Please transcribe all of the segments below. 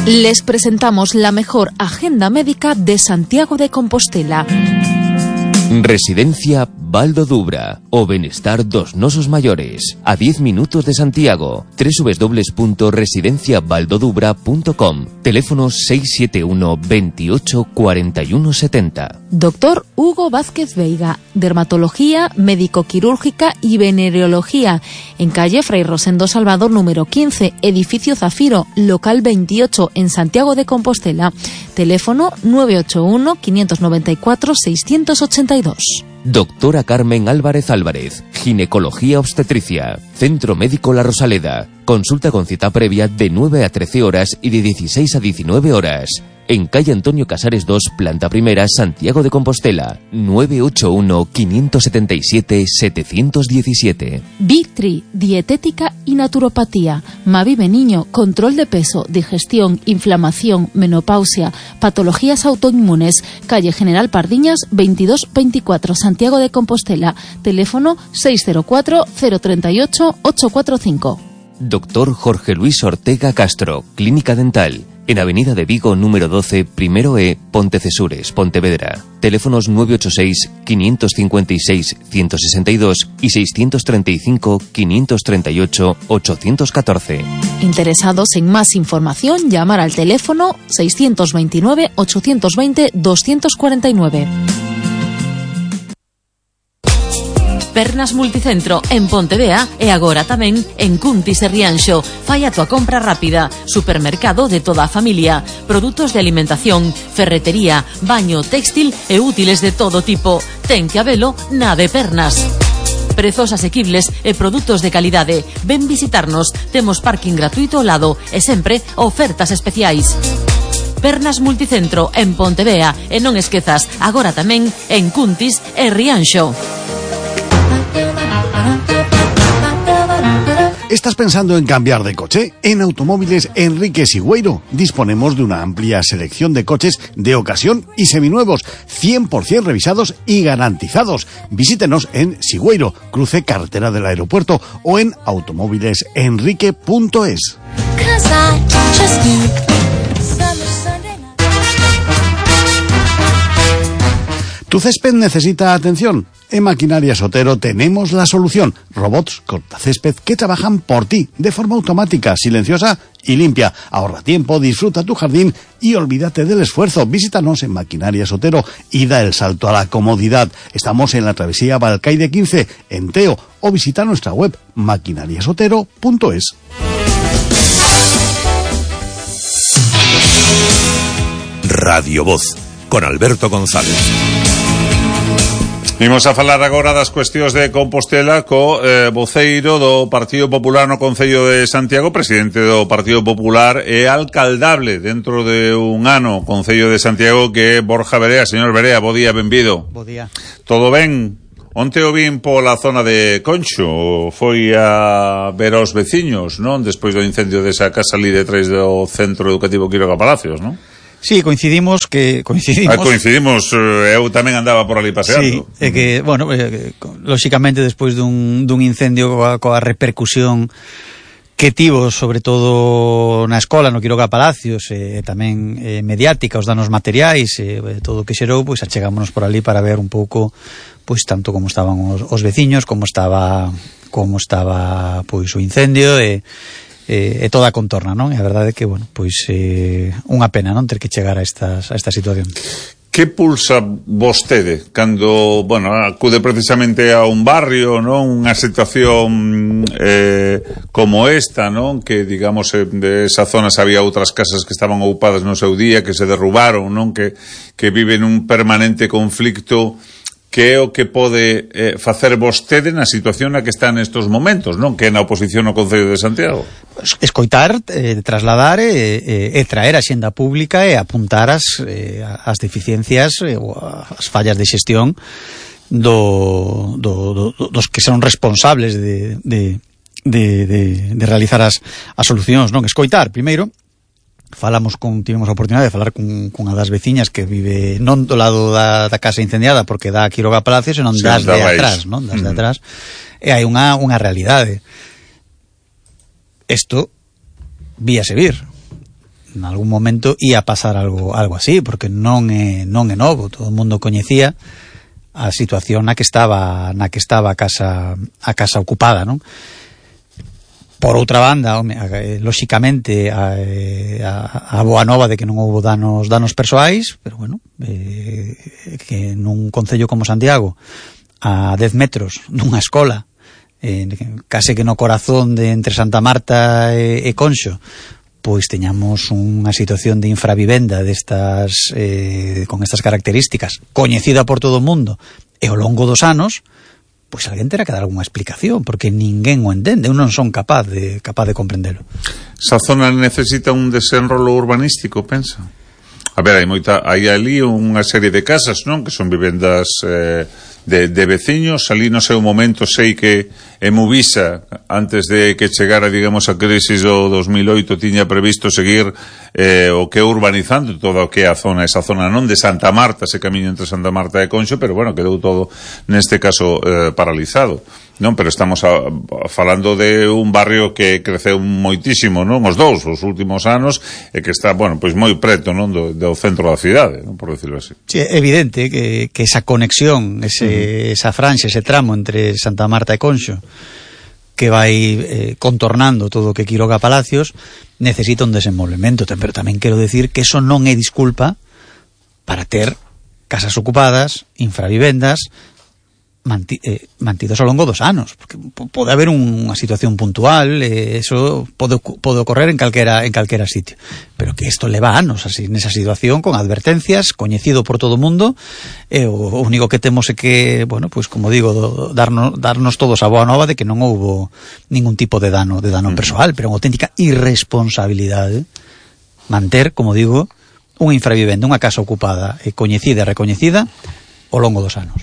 Les presentamos la mejor agenda médica de Santiago de Compostela. Residencia Val do Dubra, o benestar dos nosos maiores, a 10 minutos de Santiago. www.residenciavaldodubra.com. Teléfono 671 28 41 70. Doctor Hugo Vázquez Veiga, dermatología, médico-quirúrgica y venereología, en calle Fray Rosendo Salvador número 15, edificio Zafiro, local 28, en Santiago de Compostela. Teléfono 981 594 682. Doctora Carmen Álvarez Álvarez, ginecología obstetricia, Centro Médico La Rosaleda. Consulta con cita previa de 9 a 13 horas y de 16 a 19 horas. En calle Antonio Casares 2, planta primera, Santiago de Compostela. 981 577 717. Vitri, dietética y naturopatía. Mavive Niño, control de peso, digestión, inflamación, menopausia, patologías autoinmunes. Calle General Pardiñas 2224, Santiago de Compostela. Teléfono 604 038 845. Doctor Jorge Luis Ortega Castro, Clínica Dental. En Avenida de Vigo, número 12, primero E, Pontecesures, Pontevedra. Teléfonos 986-556-162 y 635-538-814. Interesados en más información, llamar al teléfono 629-820-249. Pernas Multicentro en Pontevea e agora tamén en Cuntis e Rianxo. Fai a tua compra rápida. Supermercado de toda a familia. Produtos de alimentación, ferretería, baño, textil e útiles de todo tipo. Ten que habelo na de Pernas. Prezos asequibles e produtos de calidade. Ven visitarnos. Temos parking gratuito ao lado e sempre ofertas especiais. Pernas Multicentro en Pontevea e non esquezas, agora tamén en Cuntis e Rianxo. ¿Estás pensando en cambiar de coche? En Automóviles Enrique Sigüeiro disponemos de una amplia selección de coches de ocasión y seminuevos, 100% revisados y garantizados. Visítenos en Sigüeiro, cruce carretera del aeropuerto, o en automóvilesenrique.es. ¿Tu césped necesita atención? En Maquinaria Otero tenemos la solución. Robots cortacésped que trabajan por ti de forma automática, silenciosa y limpia. Ahorra tiempo, disfruta tu jardín y olvídate del esfuerzo. Visítanos en Maquinaria Otero y da el salto a la comodidad. Estamos en la travesía Balcaide 15, en Teo, o visita nuestra web maquinariasotero.es. Radio Voz, con Alberto González. Imos a falar agora das cuestións de Compostela co voceiro do Partido Popular no Concello de Santiago, presidente do Partido Popular e alcaldable dentro de un ano Concello de Santiago, que é Borja Verea. Señor Verea, bo día, benvido. Bo día. Todo ben? Onte o vin pola zona de Concho, foi a ver aos veciños, non? Despois do incendio desa casa ali detrás do Centro Educativo Quiroga Palacios, non? Sí, coincidimos, eu tamén andaba por ali paseando. Sí, é que, bueno, lóxicamente despois dun incendio coa repercusión que tivo, sobre todo na escola, no Quiroga Palacios, tamén mediática, os danos materiais, todo o que xerou, pois achegámonos por ali para ver un pouco, pois tanto como estaban os veciños, como estaba pois o incendio e toda a contorna, non? E a verdade é que, bueno, pois unha pena, non, ter que chegar a esta situación. Que pulsa vostede cando, bueno, acude precisamente a un barrio, non? Unha situación como esta, non? Que, digamos, de esa zona había outras casas que estaban ocupadas no seu día, que se derrubaron, non? Que viven un permanente conflicto. Que é o que pode facer vostede na situación na que está nestos momentos, non? Que é na oposición ao Concello de Santiago. Escoitar, trasladar e traer a xenda pública e apuntar as deficiencias ou as fallas de xestión dos que son responsables de realizar as solucións, non? Escoitar, primeiro. Tivemos a oportunidade de falar cunha das veciñas que vive non do lado da casa incendiada, porque dá a Quiroga Palacios, senón das de atrás, non? Das de atrás. E hai unha realidade. Isto víase vir. en algún momento ia pasar algo así, porque non é novo, todo o mundo coñecía a situación na que estaba a casa ocupada, non? Por outra banda, lóxicamente a boa nova de que non houbo danos persoais, pero bueno, que nun concello como Santiago, a 10 metros dunha escola, case que no corazón de entre Santa Marta e Conxo, pois teñamos unha situación de infravivenda destas con estas características, coñecida por todo o mundo, e ao longo dos anos, pois alguén terá que dar algunha explicación, porque ninguén o entende, eu non son capaz de comprendelo. Esa zona necesita un desenrolo urbanístico, pensa? A ver, hai ali unha serie de casas, non? Que son vivendas de veciños. Ali no seu momento sei que Emuvisa, antes de que chegara, digamos, a crisis do 2008, tiña previsto seguir o que urbanizando todo o que é esa zona non de Santa Marta, ese camiño entre Santa Marta e Conxo, pero bueno, quedou todo neste caso paralizado, non? Pero estamos falando de un barrio que creceu moitísimo, non? Os últimos anos, e que está, bueno, pois moi preto, non? Do centro da cidade, non? Por decirlo así. Sí, é evidente que esa conexión, esa franxa, ese tramo entre Santa Marta e Conxo, que vai contornando todo o que Quiroga Palacios, necesita un desenvolvemento, pero tamén quero decir que eso non é disculpa para ter casas ocupadas, infravivendas, mantidos ao longo dos anos, porque pode haber unha situación puntual, eso pode ocorrer en calquera sitio, pero que isto leva anos así nesa situación, con advertencias, coñecido por todo o mundo, e o único que temos é que, bueno, pois como digo, darnos todos a boa nova de que non houbo ningún tipo de dano persoal, pero unha auténtica irresponsabilidade manter, como digo, unha infravivenda, unha casa ocupada e coñecida e recoñecida ao longo dos anos.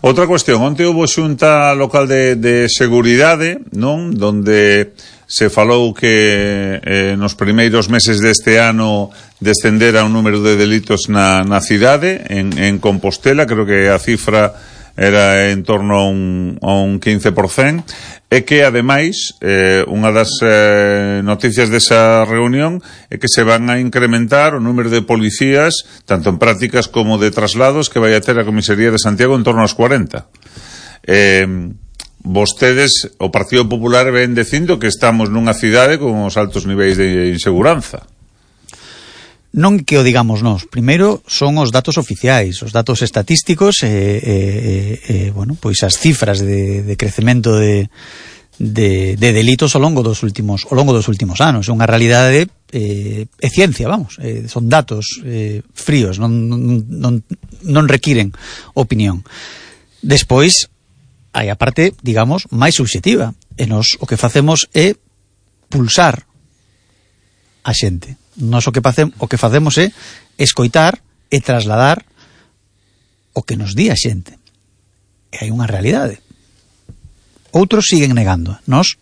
Outra cuestión, onte houve xunta local de seguridade, non? Donde se falou que nos primeiros meses deste ano descendera o número de delitos na cidade, en Compostela, creo que a cifra era en torno a un 15%, e que, ademais, unha das noticias desa reunión é que se van a incrementar o número de policías, tanto en prácticas como de traslados, que vai a ter a Comisaría de Santiago en torno aos 40. Vostedes, o Partido Popular, ven dicindo que estamos nunha cidade con os altos niveis de inseguranza. Non que o digamos nós. Primeiro son os datos oficiais, os datos estatísticos bueno, pois as cifras de crecemento de delitos ao longo dos últimos anos. É unha realidade, é ciencia, vamos, son datos fríos, non requiren opinión. Despois hai a parte, digamos, máis subxectiva, e nos o que facemos é pulsar a xente. Nós o que facemos é escoitar e trasladar o que nos di a xente. E hai unha realidade. Outros siguen negando. Nós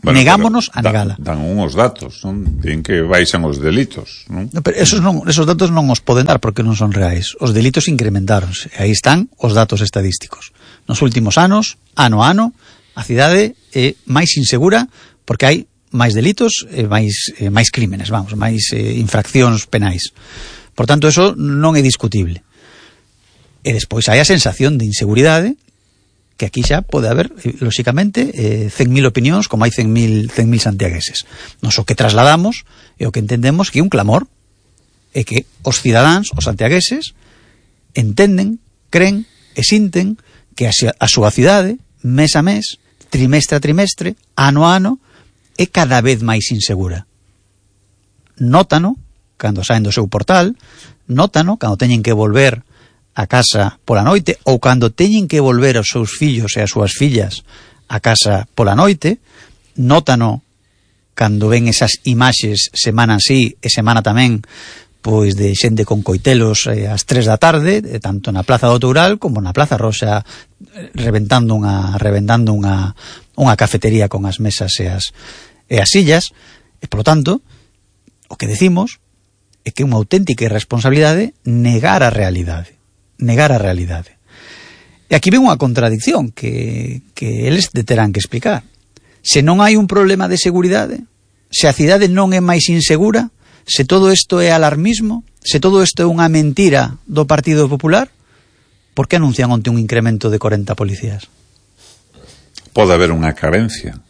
negámonos a negala. Dan unhos datos, non? Din que baixan os delitos, non? Pero esos datos non os poden dar porque non son reais. Os delitos incrementáronse. E aí están os datos estadísticos. Nos últimos anos, ano a ano, a cidade é máis insegura porque hai máis delitos e máis crímenes, vamos, máis infraccións penais. Por tanto, eso non é discutible. E despois hai a sensación de inseguridade, que aquí xa pode haber, lóxicamente, 100.000 opinións, como hai 100.000 santiagueses. Nos o que trasladamos e o que entendemos que é un clamor, é que os cidadáns, os santiagueses, entenden, creen e sinten que a súa cidade, mes a mes, trimestre a trimestre, ano a ano, é cada vez máis insegura. Nótano cando saen do seu portal, nótano cando teñen que volver a casa pola noite, ou cando teñen que volver aos seus fillos e as súas fillas a casa pola noite, nótano cando ven esas imaxes semana así e semana tamén, pois de xente con coitelos ás 3 da tarde, tanto na Plaza do Toural como na Plaza Roxa, reventando unha cafetería con as mesas e as sillas. E, polo tanto, o que decimos é que é unha auténtica irresponsabilidade negar a realidade. E aquí ven unha contradicción que eles terán que explicar. Se non hai un problema de seguridade, se a cidade non é máis insegura, Se todo isto é alarmismo, se todo isto é unha mentira do Partido Popular, por que anuncian onte un incremento de 40 policías? Pode haber unha carencia,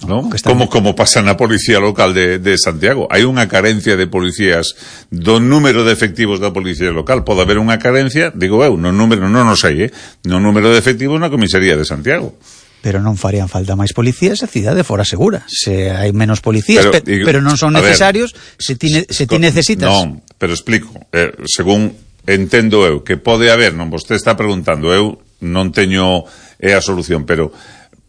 ¿no? Como pasa na policía local de Santiago. Hai unha carencia de policías, do número de efectivos da policía local. Pode haber unha carencia, digo eu, no número, non o sei, no número de efectivos na comisaría de Santiago. Pero non farían falta máis policías se a cidade fora segura. Se hai menos policías, pero non son necesarios, se ti necesitas. Non, pero explico. Según entendo eu, que pode haber, non vostede está preguntando, eu non teño a solución, pero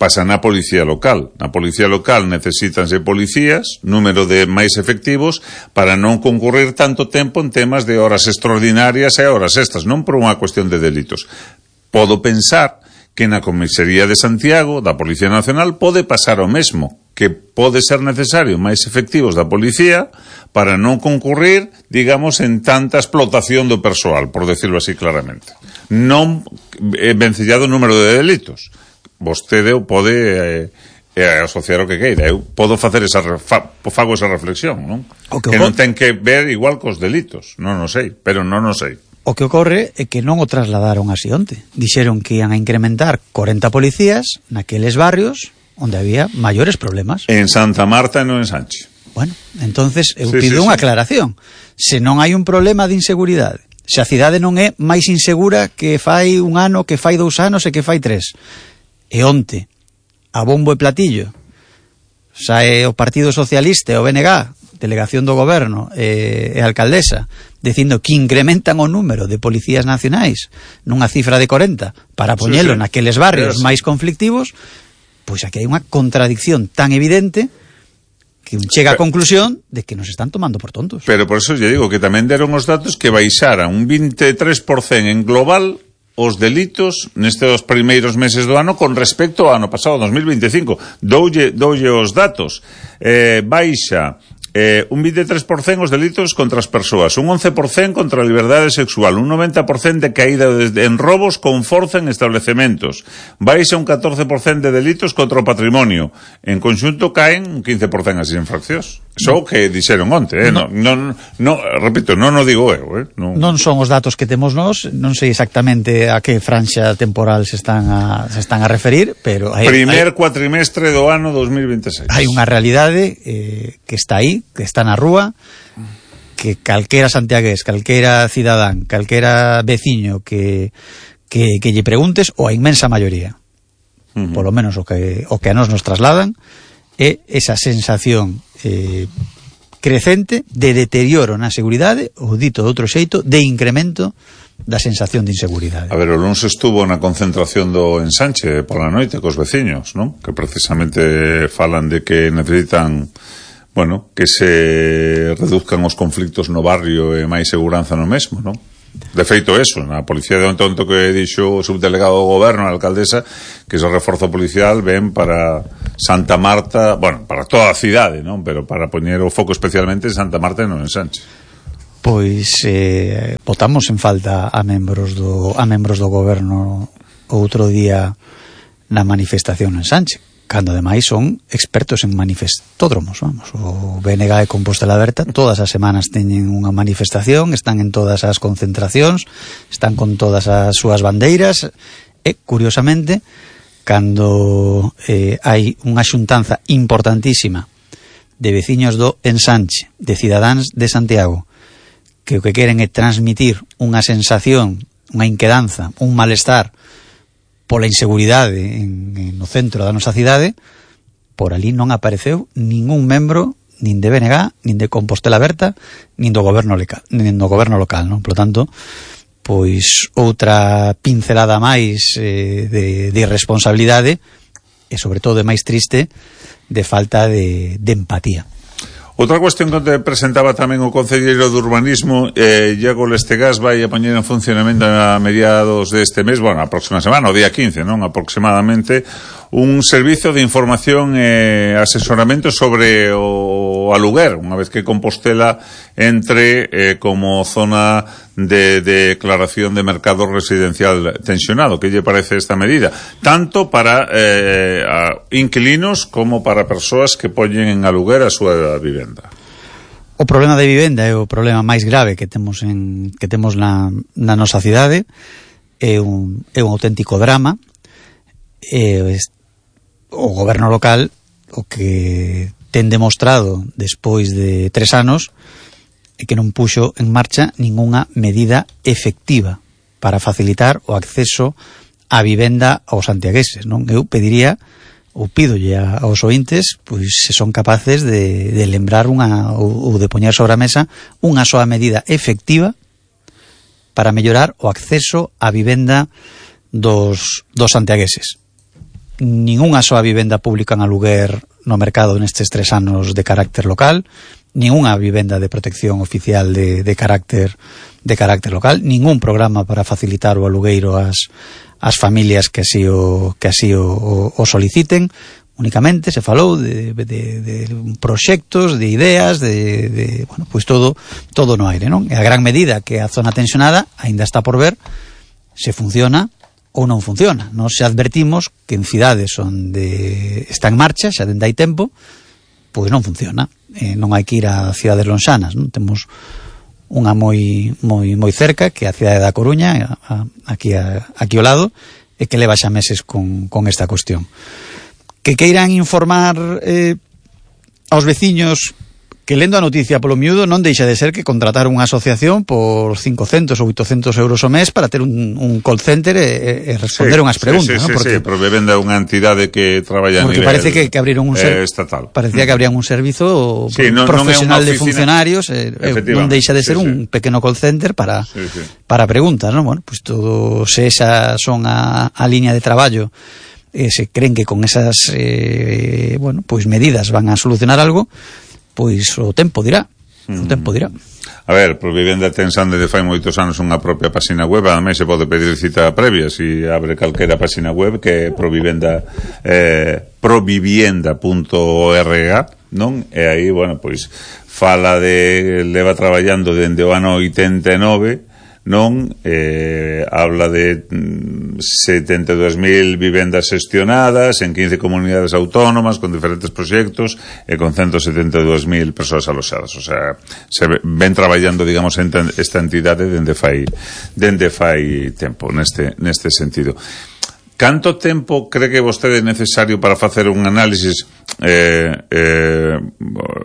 pasa na policía local. Na policía local necesítanse policías, número de máis efectivos, para non concurrir tanto tempo en temas de horas extraordinarias e horas extras, non por unha cuestión de delitos. Podo pensar que na comisaría de Santiago, da Policía Nacional, pode pasar o mesmo, que pode ser necesario máis efectivos da policía para non concurrir, digamos, en tanta explotación do persoal, por decirlo así claramente. Non vencellado o número de delitos. Vostede pode asociar o que queira. Eu podo facer fago esa reflexión, non? Que non ten que ver igual cos delitos. Non o sei, pero non o sei. O que ocorre é que non o trasladaron así onte. Dixeron que ian a incrementar 40 policías naqueles barrios onde había maiores problemas. En Santa Marta e non en Sánchez. Bueno, entonces eu pido unha aclaración. Se non hai un problema de inseguridade, se a cidade non é máis insegura que fai un ano, que fai 2 anos e que fai 3, e onte, a bombo e platillo, sae o Partido Socialista e o BNG, delegación do goberno e a alcaldesa, dicindo que incrementan o número de policías nacionais nunha cifra de 40 para poñelo naqueles barrios máis conflictivos, pois aquí hai unha contradicción tan evidente que chega á conclusión de que nos están tomando por tontos. Pero por eso lle digo que tamén deron os datos que baixaran un 23% en global os delitos nestes primeiros meses do ano con respecto ao ano pasado, 2025. Doulle os datos. Baixa un 23% os delitos contra as persoas, un 11% contra a liberdade sexual, un 90% de caída en robos con forza en establecementos, baixa un 14% de delitos contra o patrimonio, en conxunto caen un 15% as infraccións. Só que dixeron onte, repito, non o digo eu, non son os datos que temos nós, non sei exactamente a que franxa temporal se están a referir, pero primer cuatrimestre do ano 2026. Hai unha realidade que está aí, que está na rúa, que calquera santiagués, calquera cidadán, calquera veciño que lle preguntes, ou a inmensa maioría, polo menos o que a nos trasladan, é esa sensación crecente de deterioro na seguridade, ou dito de outro xeito, de incremento da sensación de inseguridade. A ver, o lunes estuvo na concentración do Ensanche pola noite cos veciños, non? Que precisamente falan de que necesitan, bueno, que se reduzcan os conflictos no barrio e máis seguranza no mesmo, non? De feito eso, na policía de onto que dixo o subdelegado do goberno, a alcaldesa, que ese reforzo policial ven para Santa Marta, bueno, para toda a cidade, non? Pero para poñer o foco especialmente en Santa Marta e non en Sánchez. Pois botamos en falta a membros do goberno outro día na manifestación en Sánchez, cando ademais son expertos en manifestódromos, vamos. O BNG e Compostela Aberta todas as semanas teñen unha manifestación, están en todas as concentracións, están con todas as súas bandeiras, e curiosamente cando hai unha xuntanza importantísima de veciños do Ensanche, de cidadáns de Santiago, que o que queren é transmitir unha sensación, unha inquedanza, un malestar pola inseguridade no centro da nosa cidade, por ali non apareceu ningún membro nin de BNG, nin de Compostela Aberta, nin do goberno local, non? Por tanto, pois outra pincelada máis de irresponsabilidade e sobre todo máis triste de falta de empatía. Outra cuestión que te presentaba tamén o concelleiro de Urbanismo, Iago Lestegás, vai a poñer en funcionamento a mediados deste mes, bueno, a próxima semana, o día 15, non? Aproximadamente, un servizo de información e asesoramento sobre o aluguer, unha vez que Compostela entre como zona de declaración de mercado residencial tensionado. Que lle parece esta medida? Tanto para inquilinos como para persoas que poñen en aluguer a súa vivenda. O problema de vivenda é o problema máis grave que temos na nosa cidade. É un auténtico drama. O goberno local o que ten demostrado despois de 3 anos é que non puxo en marcha ningunha medida efectiva para facilitar o acceso á vivenda aos santiagueses, non? Eu pediría ou pídolle aos ointes, pois se son capaces de lembrar ou de poñer sobre a mesa unha soa medida efectiva para mellorar o acceso á vivenda dos santiagueses. Ningunha soa vivenda pública en aluguer no mercado nestes 3 anos de carácter local, ningunha vivenda de protección oficial de carácter local, ningún programa para facilitar o alugueiro ás familias que así o soliciten. Únicamente se falou de proxectos, de ideas, bueno, pois todo no aire, non? E a gran medida que a zona tensionada aínda está por ver se funciona ou non funciona. Nós xa advertimos que en cidades onde está en marcha, xa dende hai tempo, pois non funciona. Non hai que ir a cidades lonxanas, non? Temos unha moi cerca, que é a cidade da Coruña, aquí ao lado, e que leva xa meses con esta cuestión. Que queiran informar aos veciños que lendo a noticia polo miúdo non deixa de ser que contratar unha asociación por 500 ou 800 euros ao mes para ter un call center e responder unhas preguntas, ¿no? Porque Provivenda é unha entidade que traballa a nivel parece que abriron un estatal. Parecía que abrían un servizo profesional de funcionarios, non deixa de ser un pequeno call center para preguntas, ¿no? Bueno, pues todo se esa son a liña de traballo, se creen que con esas pues medidas van a solucionar algo, pois o tempo dirá. A ver, Provivenda ten xa desde fai moitos anos unha propia página web, ademais se pode pedir cita previa si abre calquera página web, que é provivienda.org, non? E aí, bueno, pois fala leva traballando dende o ano 89, non? Habla de 72.000 vivendas xestionadas en 15 comunidades autónomas con diferentes proxectos e con 172.000 persoas aloxadas. O sea, se ven traballando, digamos, esta entidade dende fai tempo neste sentido. Canto tempo cree que vostede é necesario para facer un análisis?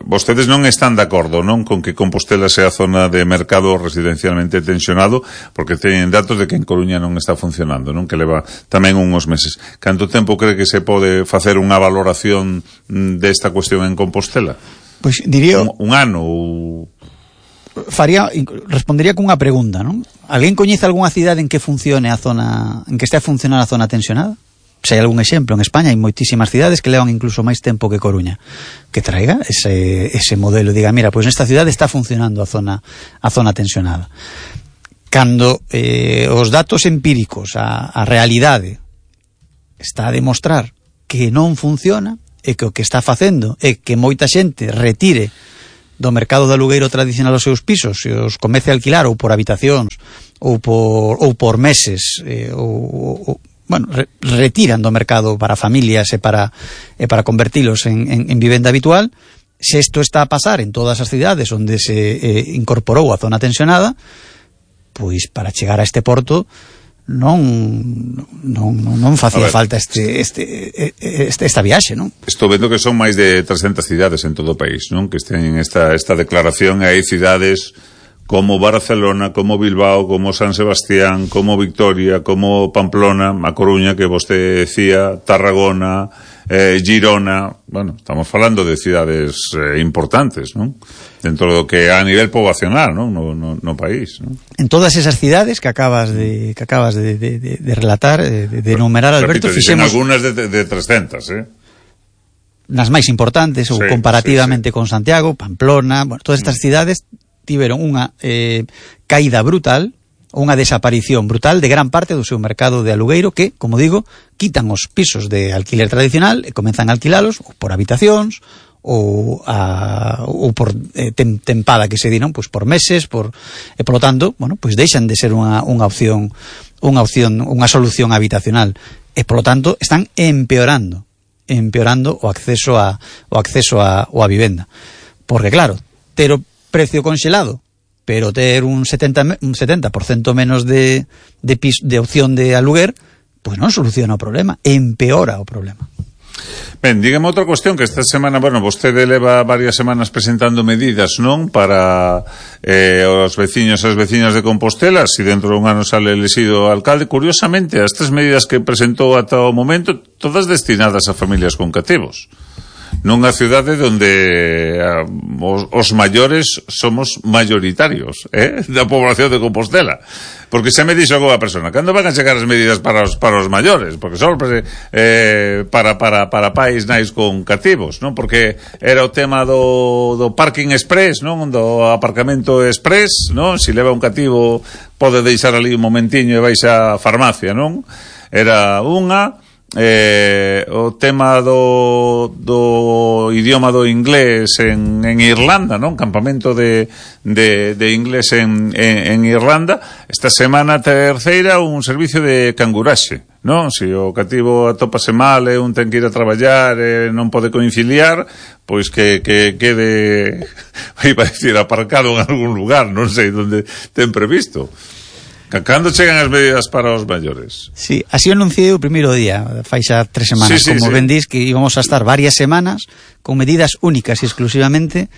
Vostedes non están de acordo, non, con que Compostela sea zona de mercado residencialmente tensionado, porque teñen datos de que en Coruña non está funcionando, non, que leva tamén uns meses. Canto tempo cree que se pode facer unha valoración desta cuestión en Compostela? Pois diría un ano ou... respondería cunha pregunta, non? Alguén coñece algunha cidade en que funcione a zona, en que este a funcionar a zona tensionada? Se hai algún exemplo, en España hai moitísimas cidades que levan incluso máis tempo que Coruña, que traiga ese modelo, diga, mira, pois nesta cidade está funcionando a zona tensionada. Cando os datos empíricos, a realidade está a demostrar que non funciona, e que o que está facendo é que moita xente retire do mercado de alugueiro tradicional os seus pisos e os comece a alquilar ou por habitacións ou por meses, retiran do mercado para familias e para convertilos en vivenda habitual. Se isto está a pasar en todas as cidades onde se incorporou a zona tensionada, pois para chegar a este porto non facía falta esta viaxe, non? Estou vendo que son máis de 300 cidades en todo o país, non? Que teñen esta declaración, e hai cidades como Barcelona, como Bilbao, como San Sebastián, como Victoria, como Pamplona, A Coruña, que vostede decía, Tarragona, Girona. Bueno, estamos falando de cidades importantes, non? Dentro do que a nivel poboacional, non? No país, non? En todas esas cidades que acabas de relatar, de enumerar, Alberto, fixemos algunhas de 300, nas máis importantes, ou comparativamente con Santiago, Pamplona, bueno, todas estas cidades tiveron unha caída brutal, unha desaparición brutal de gran parte do seu mercado de alugueiro, que, como digo, quitan os pisos de alquiler tradicional e comenzan a alquilalos ou por habitacións ou por tempada, que se di, non? Pois por meses, e polo tanto, bueno, pois deixan de ser unha opción, unha solución habitacional, e polo tanto están empeorando o acceso a vivenda. Porque claro, ter precio conxelado, pero ter un 70% menos de opción de aluguer, pois non soluciona o problema, empeora o problema. Ben, dígame outra cuestión que esta semana, bueno, vostede leva varias semanas presentando medidas, non? Para os veciños e as veciñas de Compostela, si dentro dun ano sale elexido alcalde. Curiosamente, as 3 medidas que presentou ata o momento, todas destinadas a familias con cativos. Nunha cidade onde os maiores somos mayoritarios, da población de Compostela. Porque se me dixo alguna persona, cando van a chegar as medidas para os maiores? Porque só para pais nais con cativos, non? Porque era o tema do parking express, non? Do aparcamento express, non? Si leva un cativo pode deixar ali un momentiño e vais á farmacia, non? Era unha... o tema do idioma do inglés en Irlanda, non? Campamento de inglés en Irlanda. Esta semana terceira un servicio de canguraxe, non? Se o cativo atópase mal e un ten que ir a traballar e non pode conciliar, pois que quede, iba a decir, aparcado en algún lugar, non sei onde ten previsto. Cando chegan as medidas para os maiores? Sí, así anunciei o primeiro día, fai xa 3 semanas, como ben dís, que íbamos a estar varias semanas con medidas únicas e exclusivamente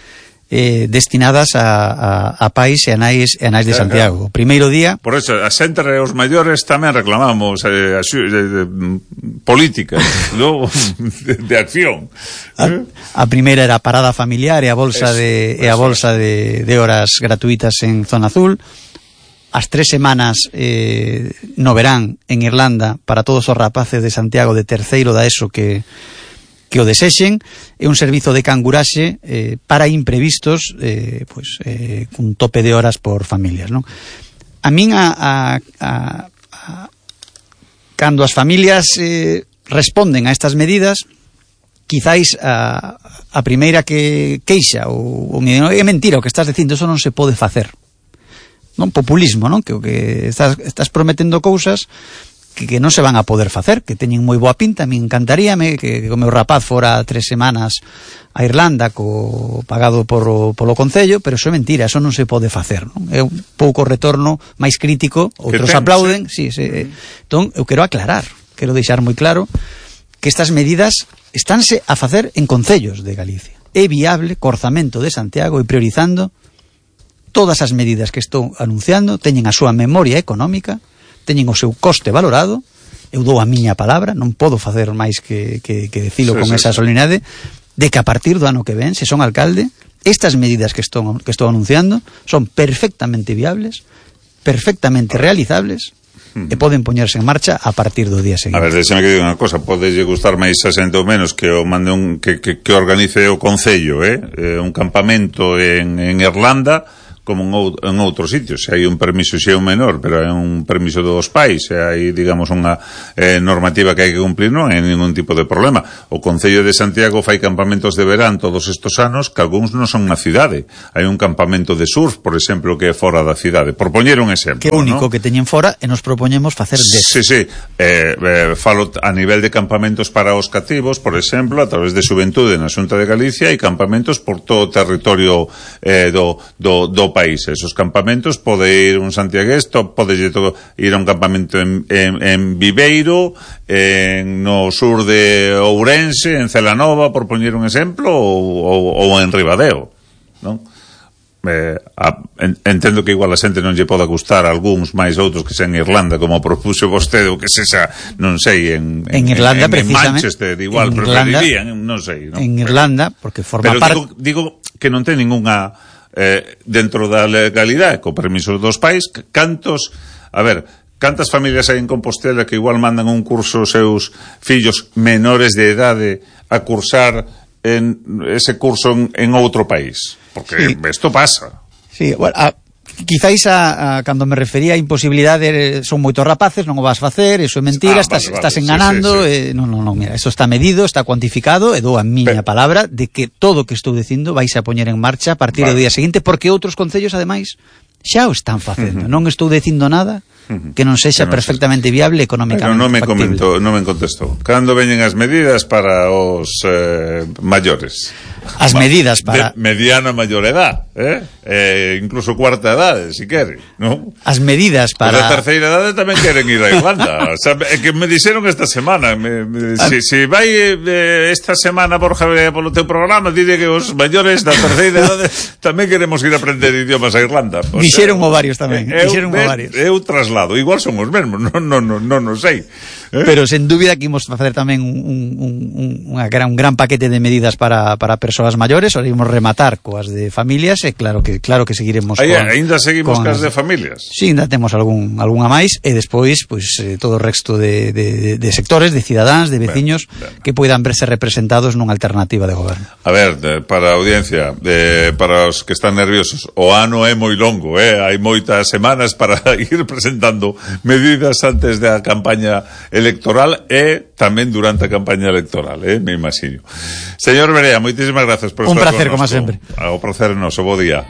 destinadas a pais e a nais de Santiago. O primeiro día... Por eso, a xente e os maiores tamén reclamamos políticas, ¿no? de acción. A primeira era a parada familiar e a bolsa de horas gratuitas en zona azul. As 3 semanas no verán en Irlanda para todos os rapaces de Santiago de terceiro da ESO que o desexen. É un servizo de canguraxe para imprevistos, cun tope de horas por familias, non? A min cando as familias responden a estas medidas, quizáis a primeira que queixa ou é mentira o que estás dicindo, eso non se pode facer. Non, populismo, non? Que o que estás prometendo cousas que non se van a poder facer, que teñen moi boa pinta. A mí encantaríame que o meu rapaz fora 3 semanas a Irlanda pagado polo Concello, pero eso é mentira, eso non se pode facer, non? É un pouco retorno máis crítico, outros aplauden, sí. Entón, eu quero aclarar, quero deixar moi claro que estas medidas estánse a facer en concellos de Galicia. É viable, co Orzamento de Santiago e priorizando todas as medidas que estou anunciando, teñen a súa memoria económica, teñen o seu coste valorado. Eu dou a miña palabra, non podo facer máis que decilo con esa solemnidade, de que a partir do ano que ven, se son alcalde, estas medidas que estou anunciando son perfectamente viables, perfectamente realizables, e poden poñerse en marcha a partir do día seguinte. A ver, deixame que diga unha cosa, podelle gustar máis a xente ou menos que o mande que organice o Concello, un campamento en Irlanda, como en outros sitios. Se hai un permiso, se é un menor, pero é un permiso dos pais, se hai, digamos, unha normativa que hai que cumplir, non hai ningún tipo de problema. O Concello de Santiago fai campamentos de verán todos estos anos que algúns non son na cidade. Hai un campamento de surf, por exemplo, que é fora da cidade. Por poñer un exemplo, que é único, ¿no? Que teñen fora e nos propoñemos facer Sí. Falo a nivel de campamentos para os cativos, por exemplo, a través de Xuventude na Xunta de Galicia, hai campamentos por todo o territorio do país. Esos campamentos pode ir un santiagués, pode ir a un campamento en Viveiro, no sur de Ourense, en Celanova, por poñer un exemplo, ou en Ribadeo, non? Entendo que igual a xente non lle poda gustar algúns máis outros que sean en Irlanda, como propuxo vostede, ou que sexa, non sei, en Irlanda, en Manchester, igual preferirían, non sei, non? En Irlanda, porque forma parte... Pero digo que non ten ninguna... dentro da legalidade, co permiso dos pais, cantas familias hai en Compostela que igual mandan un curso aos seus fillos menores de idade a cursar ese curso en outro país? Porque isto pasa. Sí, bueno, quizáis cando me refería a imposibilidade, son moitos rapaces, non o vas facer, eso é mentira, estás enganando, sí. Non, mira, eso está medido, está cuantificado, e dou a miña palabra de que todo o que estou dicindo vais a poñer en marcha a partir do día seguinte, porque outros concellos, ademais, xa o están facendo. Non estou dicindo nada que non sexa perfectamente viable económicamente. Pero non me contestou. Cando veñen as medidas para os maiores? As medidas para... mediana maior edad, incluso cuarta edade, si quere, non? As medidas para... Pero a terceira edade tamén queren ir a Irlanda. O sea, é que me dixeron esta semana, se vai esta semana, Borja, polo teu programa, dile que os maiores da terceira edade tamén queremos ir a aprender idiomas a Irlanda. Dixeron varios tamén, eu traslado, igual son os mesmos, non sei. Pero sen dúbida que imos facer tamén un gran paquete de medidas para persoas maiores, ou imos rematar coas de familias, e claro que seguiremos ainda seguimos cas de familias. Sí, ainda temos algunha máis, e despois todo o resto de sectores, de cidadáns, de veciños que poidan verse representados nunha alternativa de goberno. A ver, para a audiencia, para os que están nerviosos, o ano é moi longo, hai moitas semanas para ir presentando medidas antes da campaña electoral e tamén durante a campaña electoral, me imagino. Señor Berea, moitísimas grazas por estar con un placer, como sempre. O prazer é noso, bo día.